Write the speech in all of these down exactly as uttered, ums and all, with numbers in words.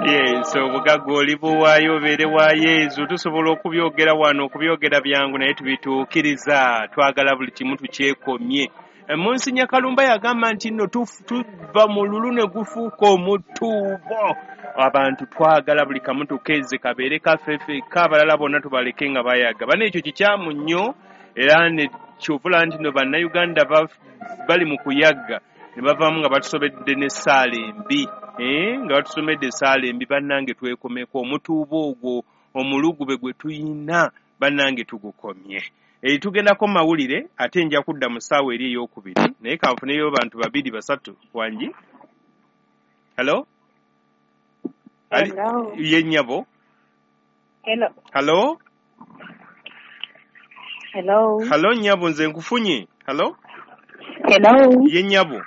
Yes, obugagga olibuwaayo obeere wa Yezu. Tusobola okubyogera wano, okubyogera byangu, naye tubituukiriza. Twagala buli kimu tukyekomye. Munsinya Kalumba yagamba nti nno tuva mu lulu ne gufuuka omutuubo. Abantu twagala buli kamu tukeeze kabeere kaffe ffekka, abalala bonna tubaleke nga bayaga. Bana ekyo kikyamu nnyo, era ne kyovula nti no Bannayuganda bali mu kuyagga ne bavaamu nga batusobedde n'essaala embi, eh, nga batusomedde essaala embi. Bannange, twekomeko omutuubo ogwo, omulugube gwe tuyina, bannange tugukomye. E, tugendako mawulire, ate nja kudda mu ssaawa eri ey'okubiri, naye kanfuneyo bantu babiri basatu. Wangi, hello? Ye nnyabo. Hello. Hello? Hello. Hello nnyabo, nze nkufunye. Hello? Hello. Ye nnyabo.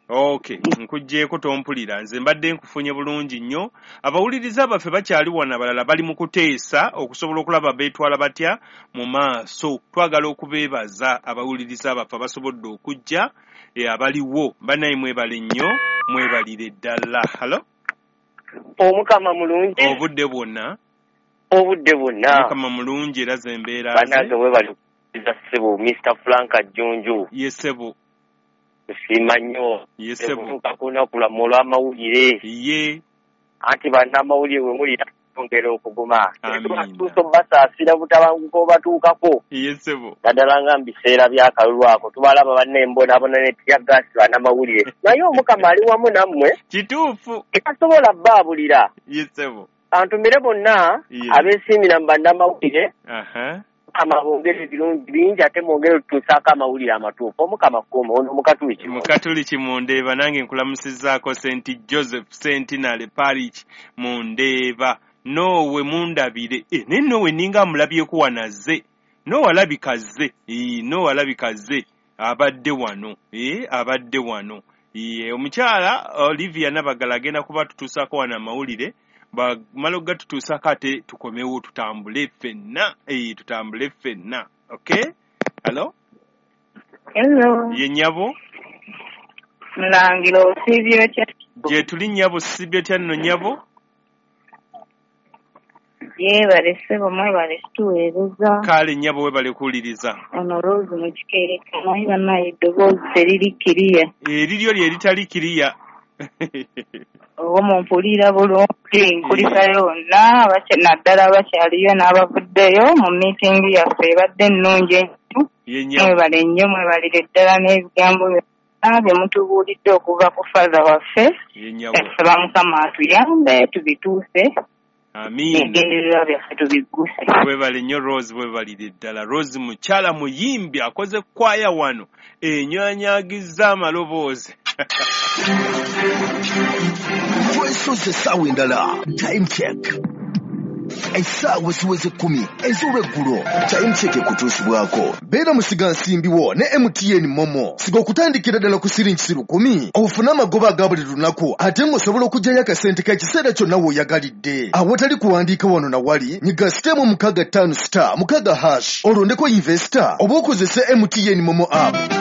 Okay, nkuggyeko tompulira. Nze mbadde nkufunye bulungi nnyo. Abawuliriza baffe bakyali wano, abalala bali mu kuteesa okusobola okulaba beetwala batya mu maaso. Twagala okubeebaza abawuliriza baffe abasobodde okujja, e, abaliwo. Bannaye mwebale nnyo, mwebalire ddala. Hello? Omukama mulungi. Obudde bwonna. Obudde bwonna. Omukama mulungi, era ze mbeera. Bannange webale kuwuliriza ssebo Mister Frank Jjunju. Ye ssebo. Nsiima nnyo. Ye ssebo. Okutuuka ku lunaku lwammwe olw'amawulire. Ye. Anti bannamawulire bwe mulira twongera okuguma. Amiina. Tutuuse obubasaasira butabanguko obatuukako. Ye ssebo. Naddala nga mu biseera by'akalulu ako tubalaba bannembonaabona ne teargas bannamawulire. Naye Omukama ali wamu nammwe. Kituufu. Tasobola bbaabulira. Ye ssebo. Antumire bonna Ye. abeesiimira mu bannamawulire. Aha. Mukama bongere ebirungi bingi, ate mwongere otutuusaako amawulire amatuufu. Omukama kuuma ono Mukatuliki. Mukatuliki Mundeeba, nange nkulamusizzaako Saint Joseph Centenary Parish Mundeeba. Noowe mundabire. E, naye noowe ninga amulabyeko wano azze. Noowe alabika azze. E, noowe alabika azze. Abadde wano. E, abadde wano. E, omukyala Olivia Nabagala agenda kuba tutuusaako wano amawulire. Bamala okugatutuusaako ate tukomewo tutambule ffenna. E, tutambule ffenna. Okay? Hello? Hello. Ye nnyabo? Mulangira, osiibye otya? Gye tuli nnyabo, sibye otya nno nnyabo? Yeebale ssebo, mwebale kutuweereza. Kale nnyabo, weebale kuwuliriza. Ono Rose mu Kikeereka, naye bannaye eddoboozi teriri kiriya. Eriryo lye litali kiriya. Oba mumpulira bulungi, nkulisayo bonna naddala abakyaliyo n'abavuddeyo mu miitingi yaffe ebadde ennungi ennyo. Ye nnyabo. Mwebale nnyo, mwebalire ddala n'ebigambo byonna bye mutubuulidde okuva ku Father waffe. Ye nnyabo. Tusaba Mukama atuyambe tubituuse. Amiina. Ebigendererwa byaffe tubigguse. Weebale nnyo Rose, weebalire ddala. Rose mukyala muyimbi, akoze kwaya wano enywanyagizza amaloboozi. Twesoze essaawa endala. Time check, essaawa ziweze kkumi ez'olweggulo. Time check ekutuusibwako beera musigansimbiwo ne M T N MoMo. Siga okutandikira ddala ku siringi lukumi ofune amagoba aga buli lunaku, ate ng'osobola okuggyayo akasente k'ekiseera kyonna w'oyagalidde awatali kuwandiika wano na wali. Nyiga star emu mukaaga ttaano star mukaaga hash, olondeko investor oba okozese M T N MoMo app.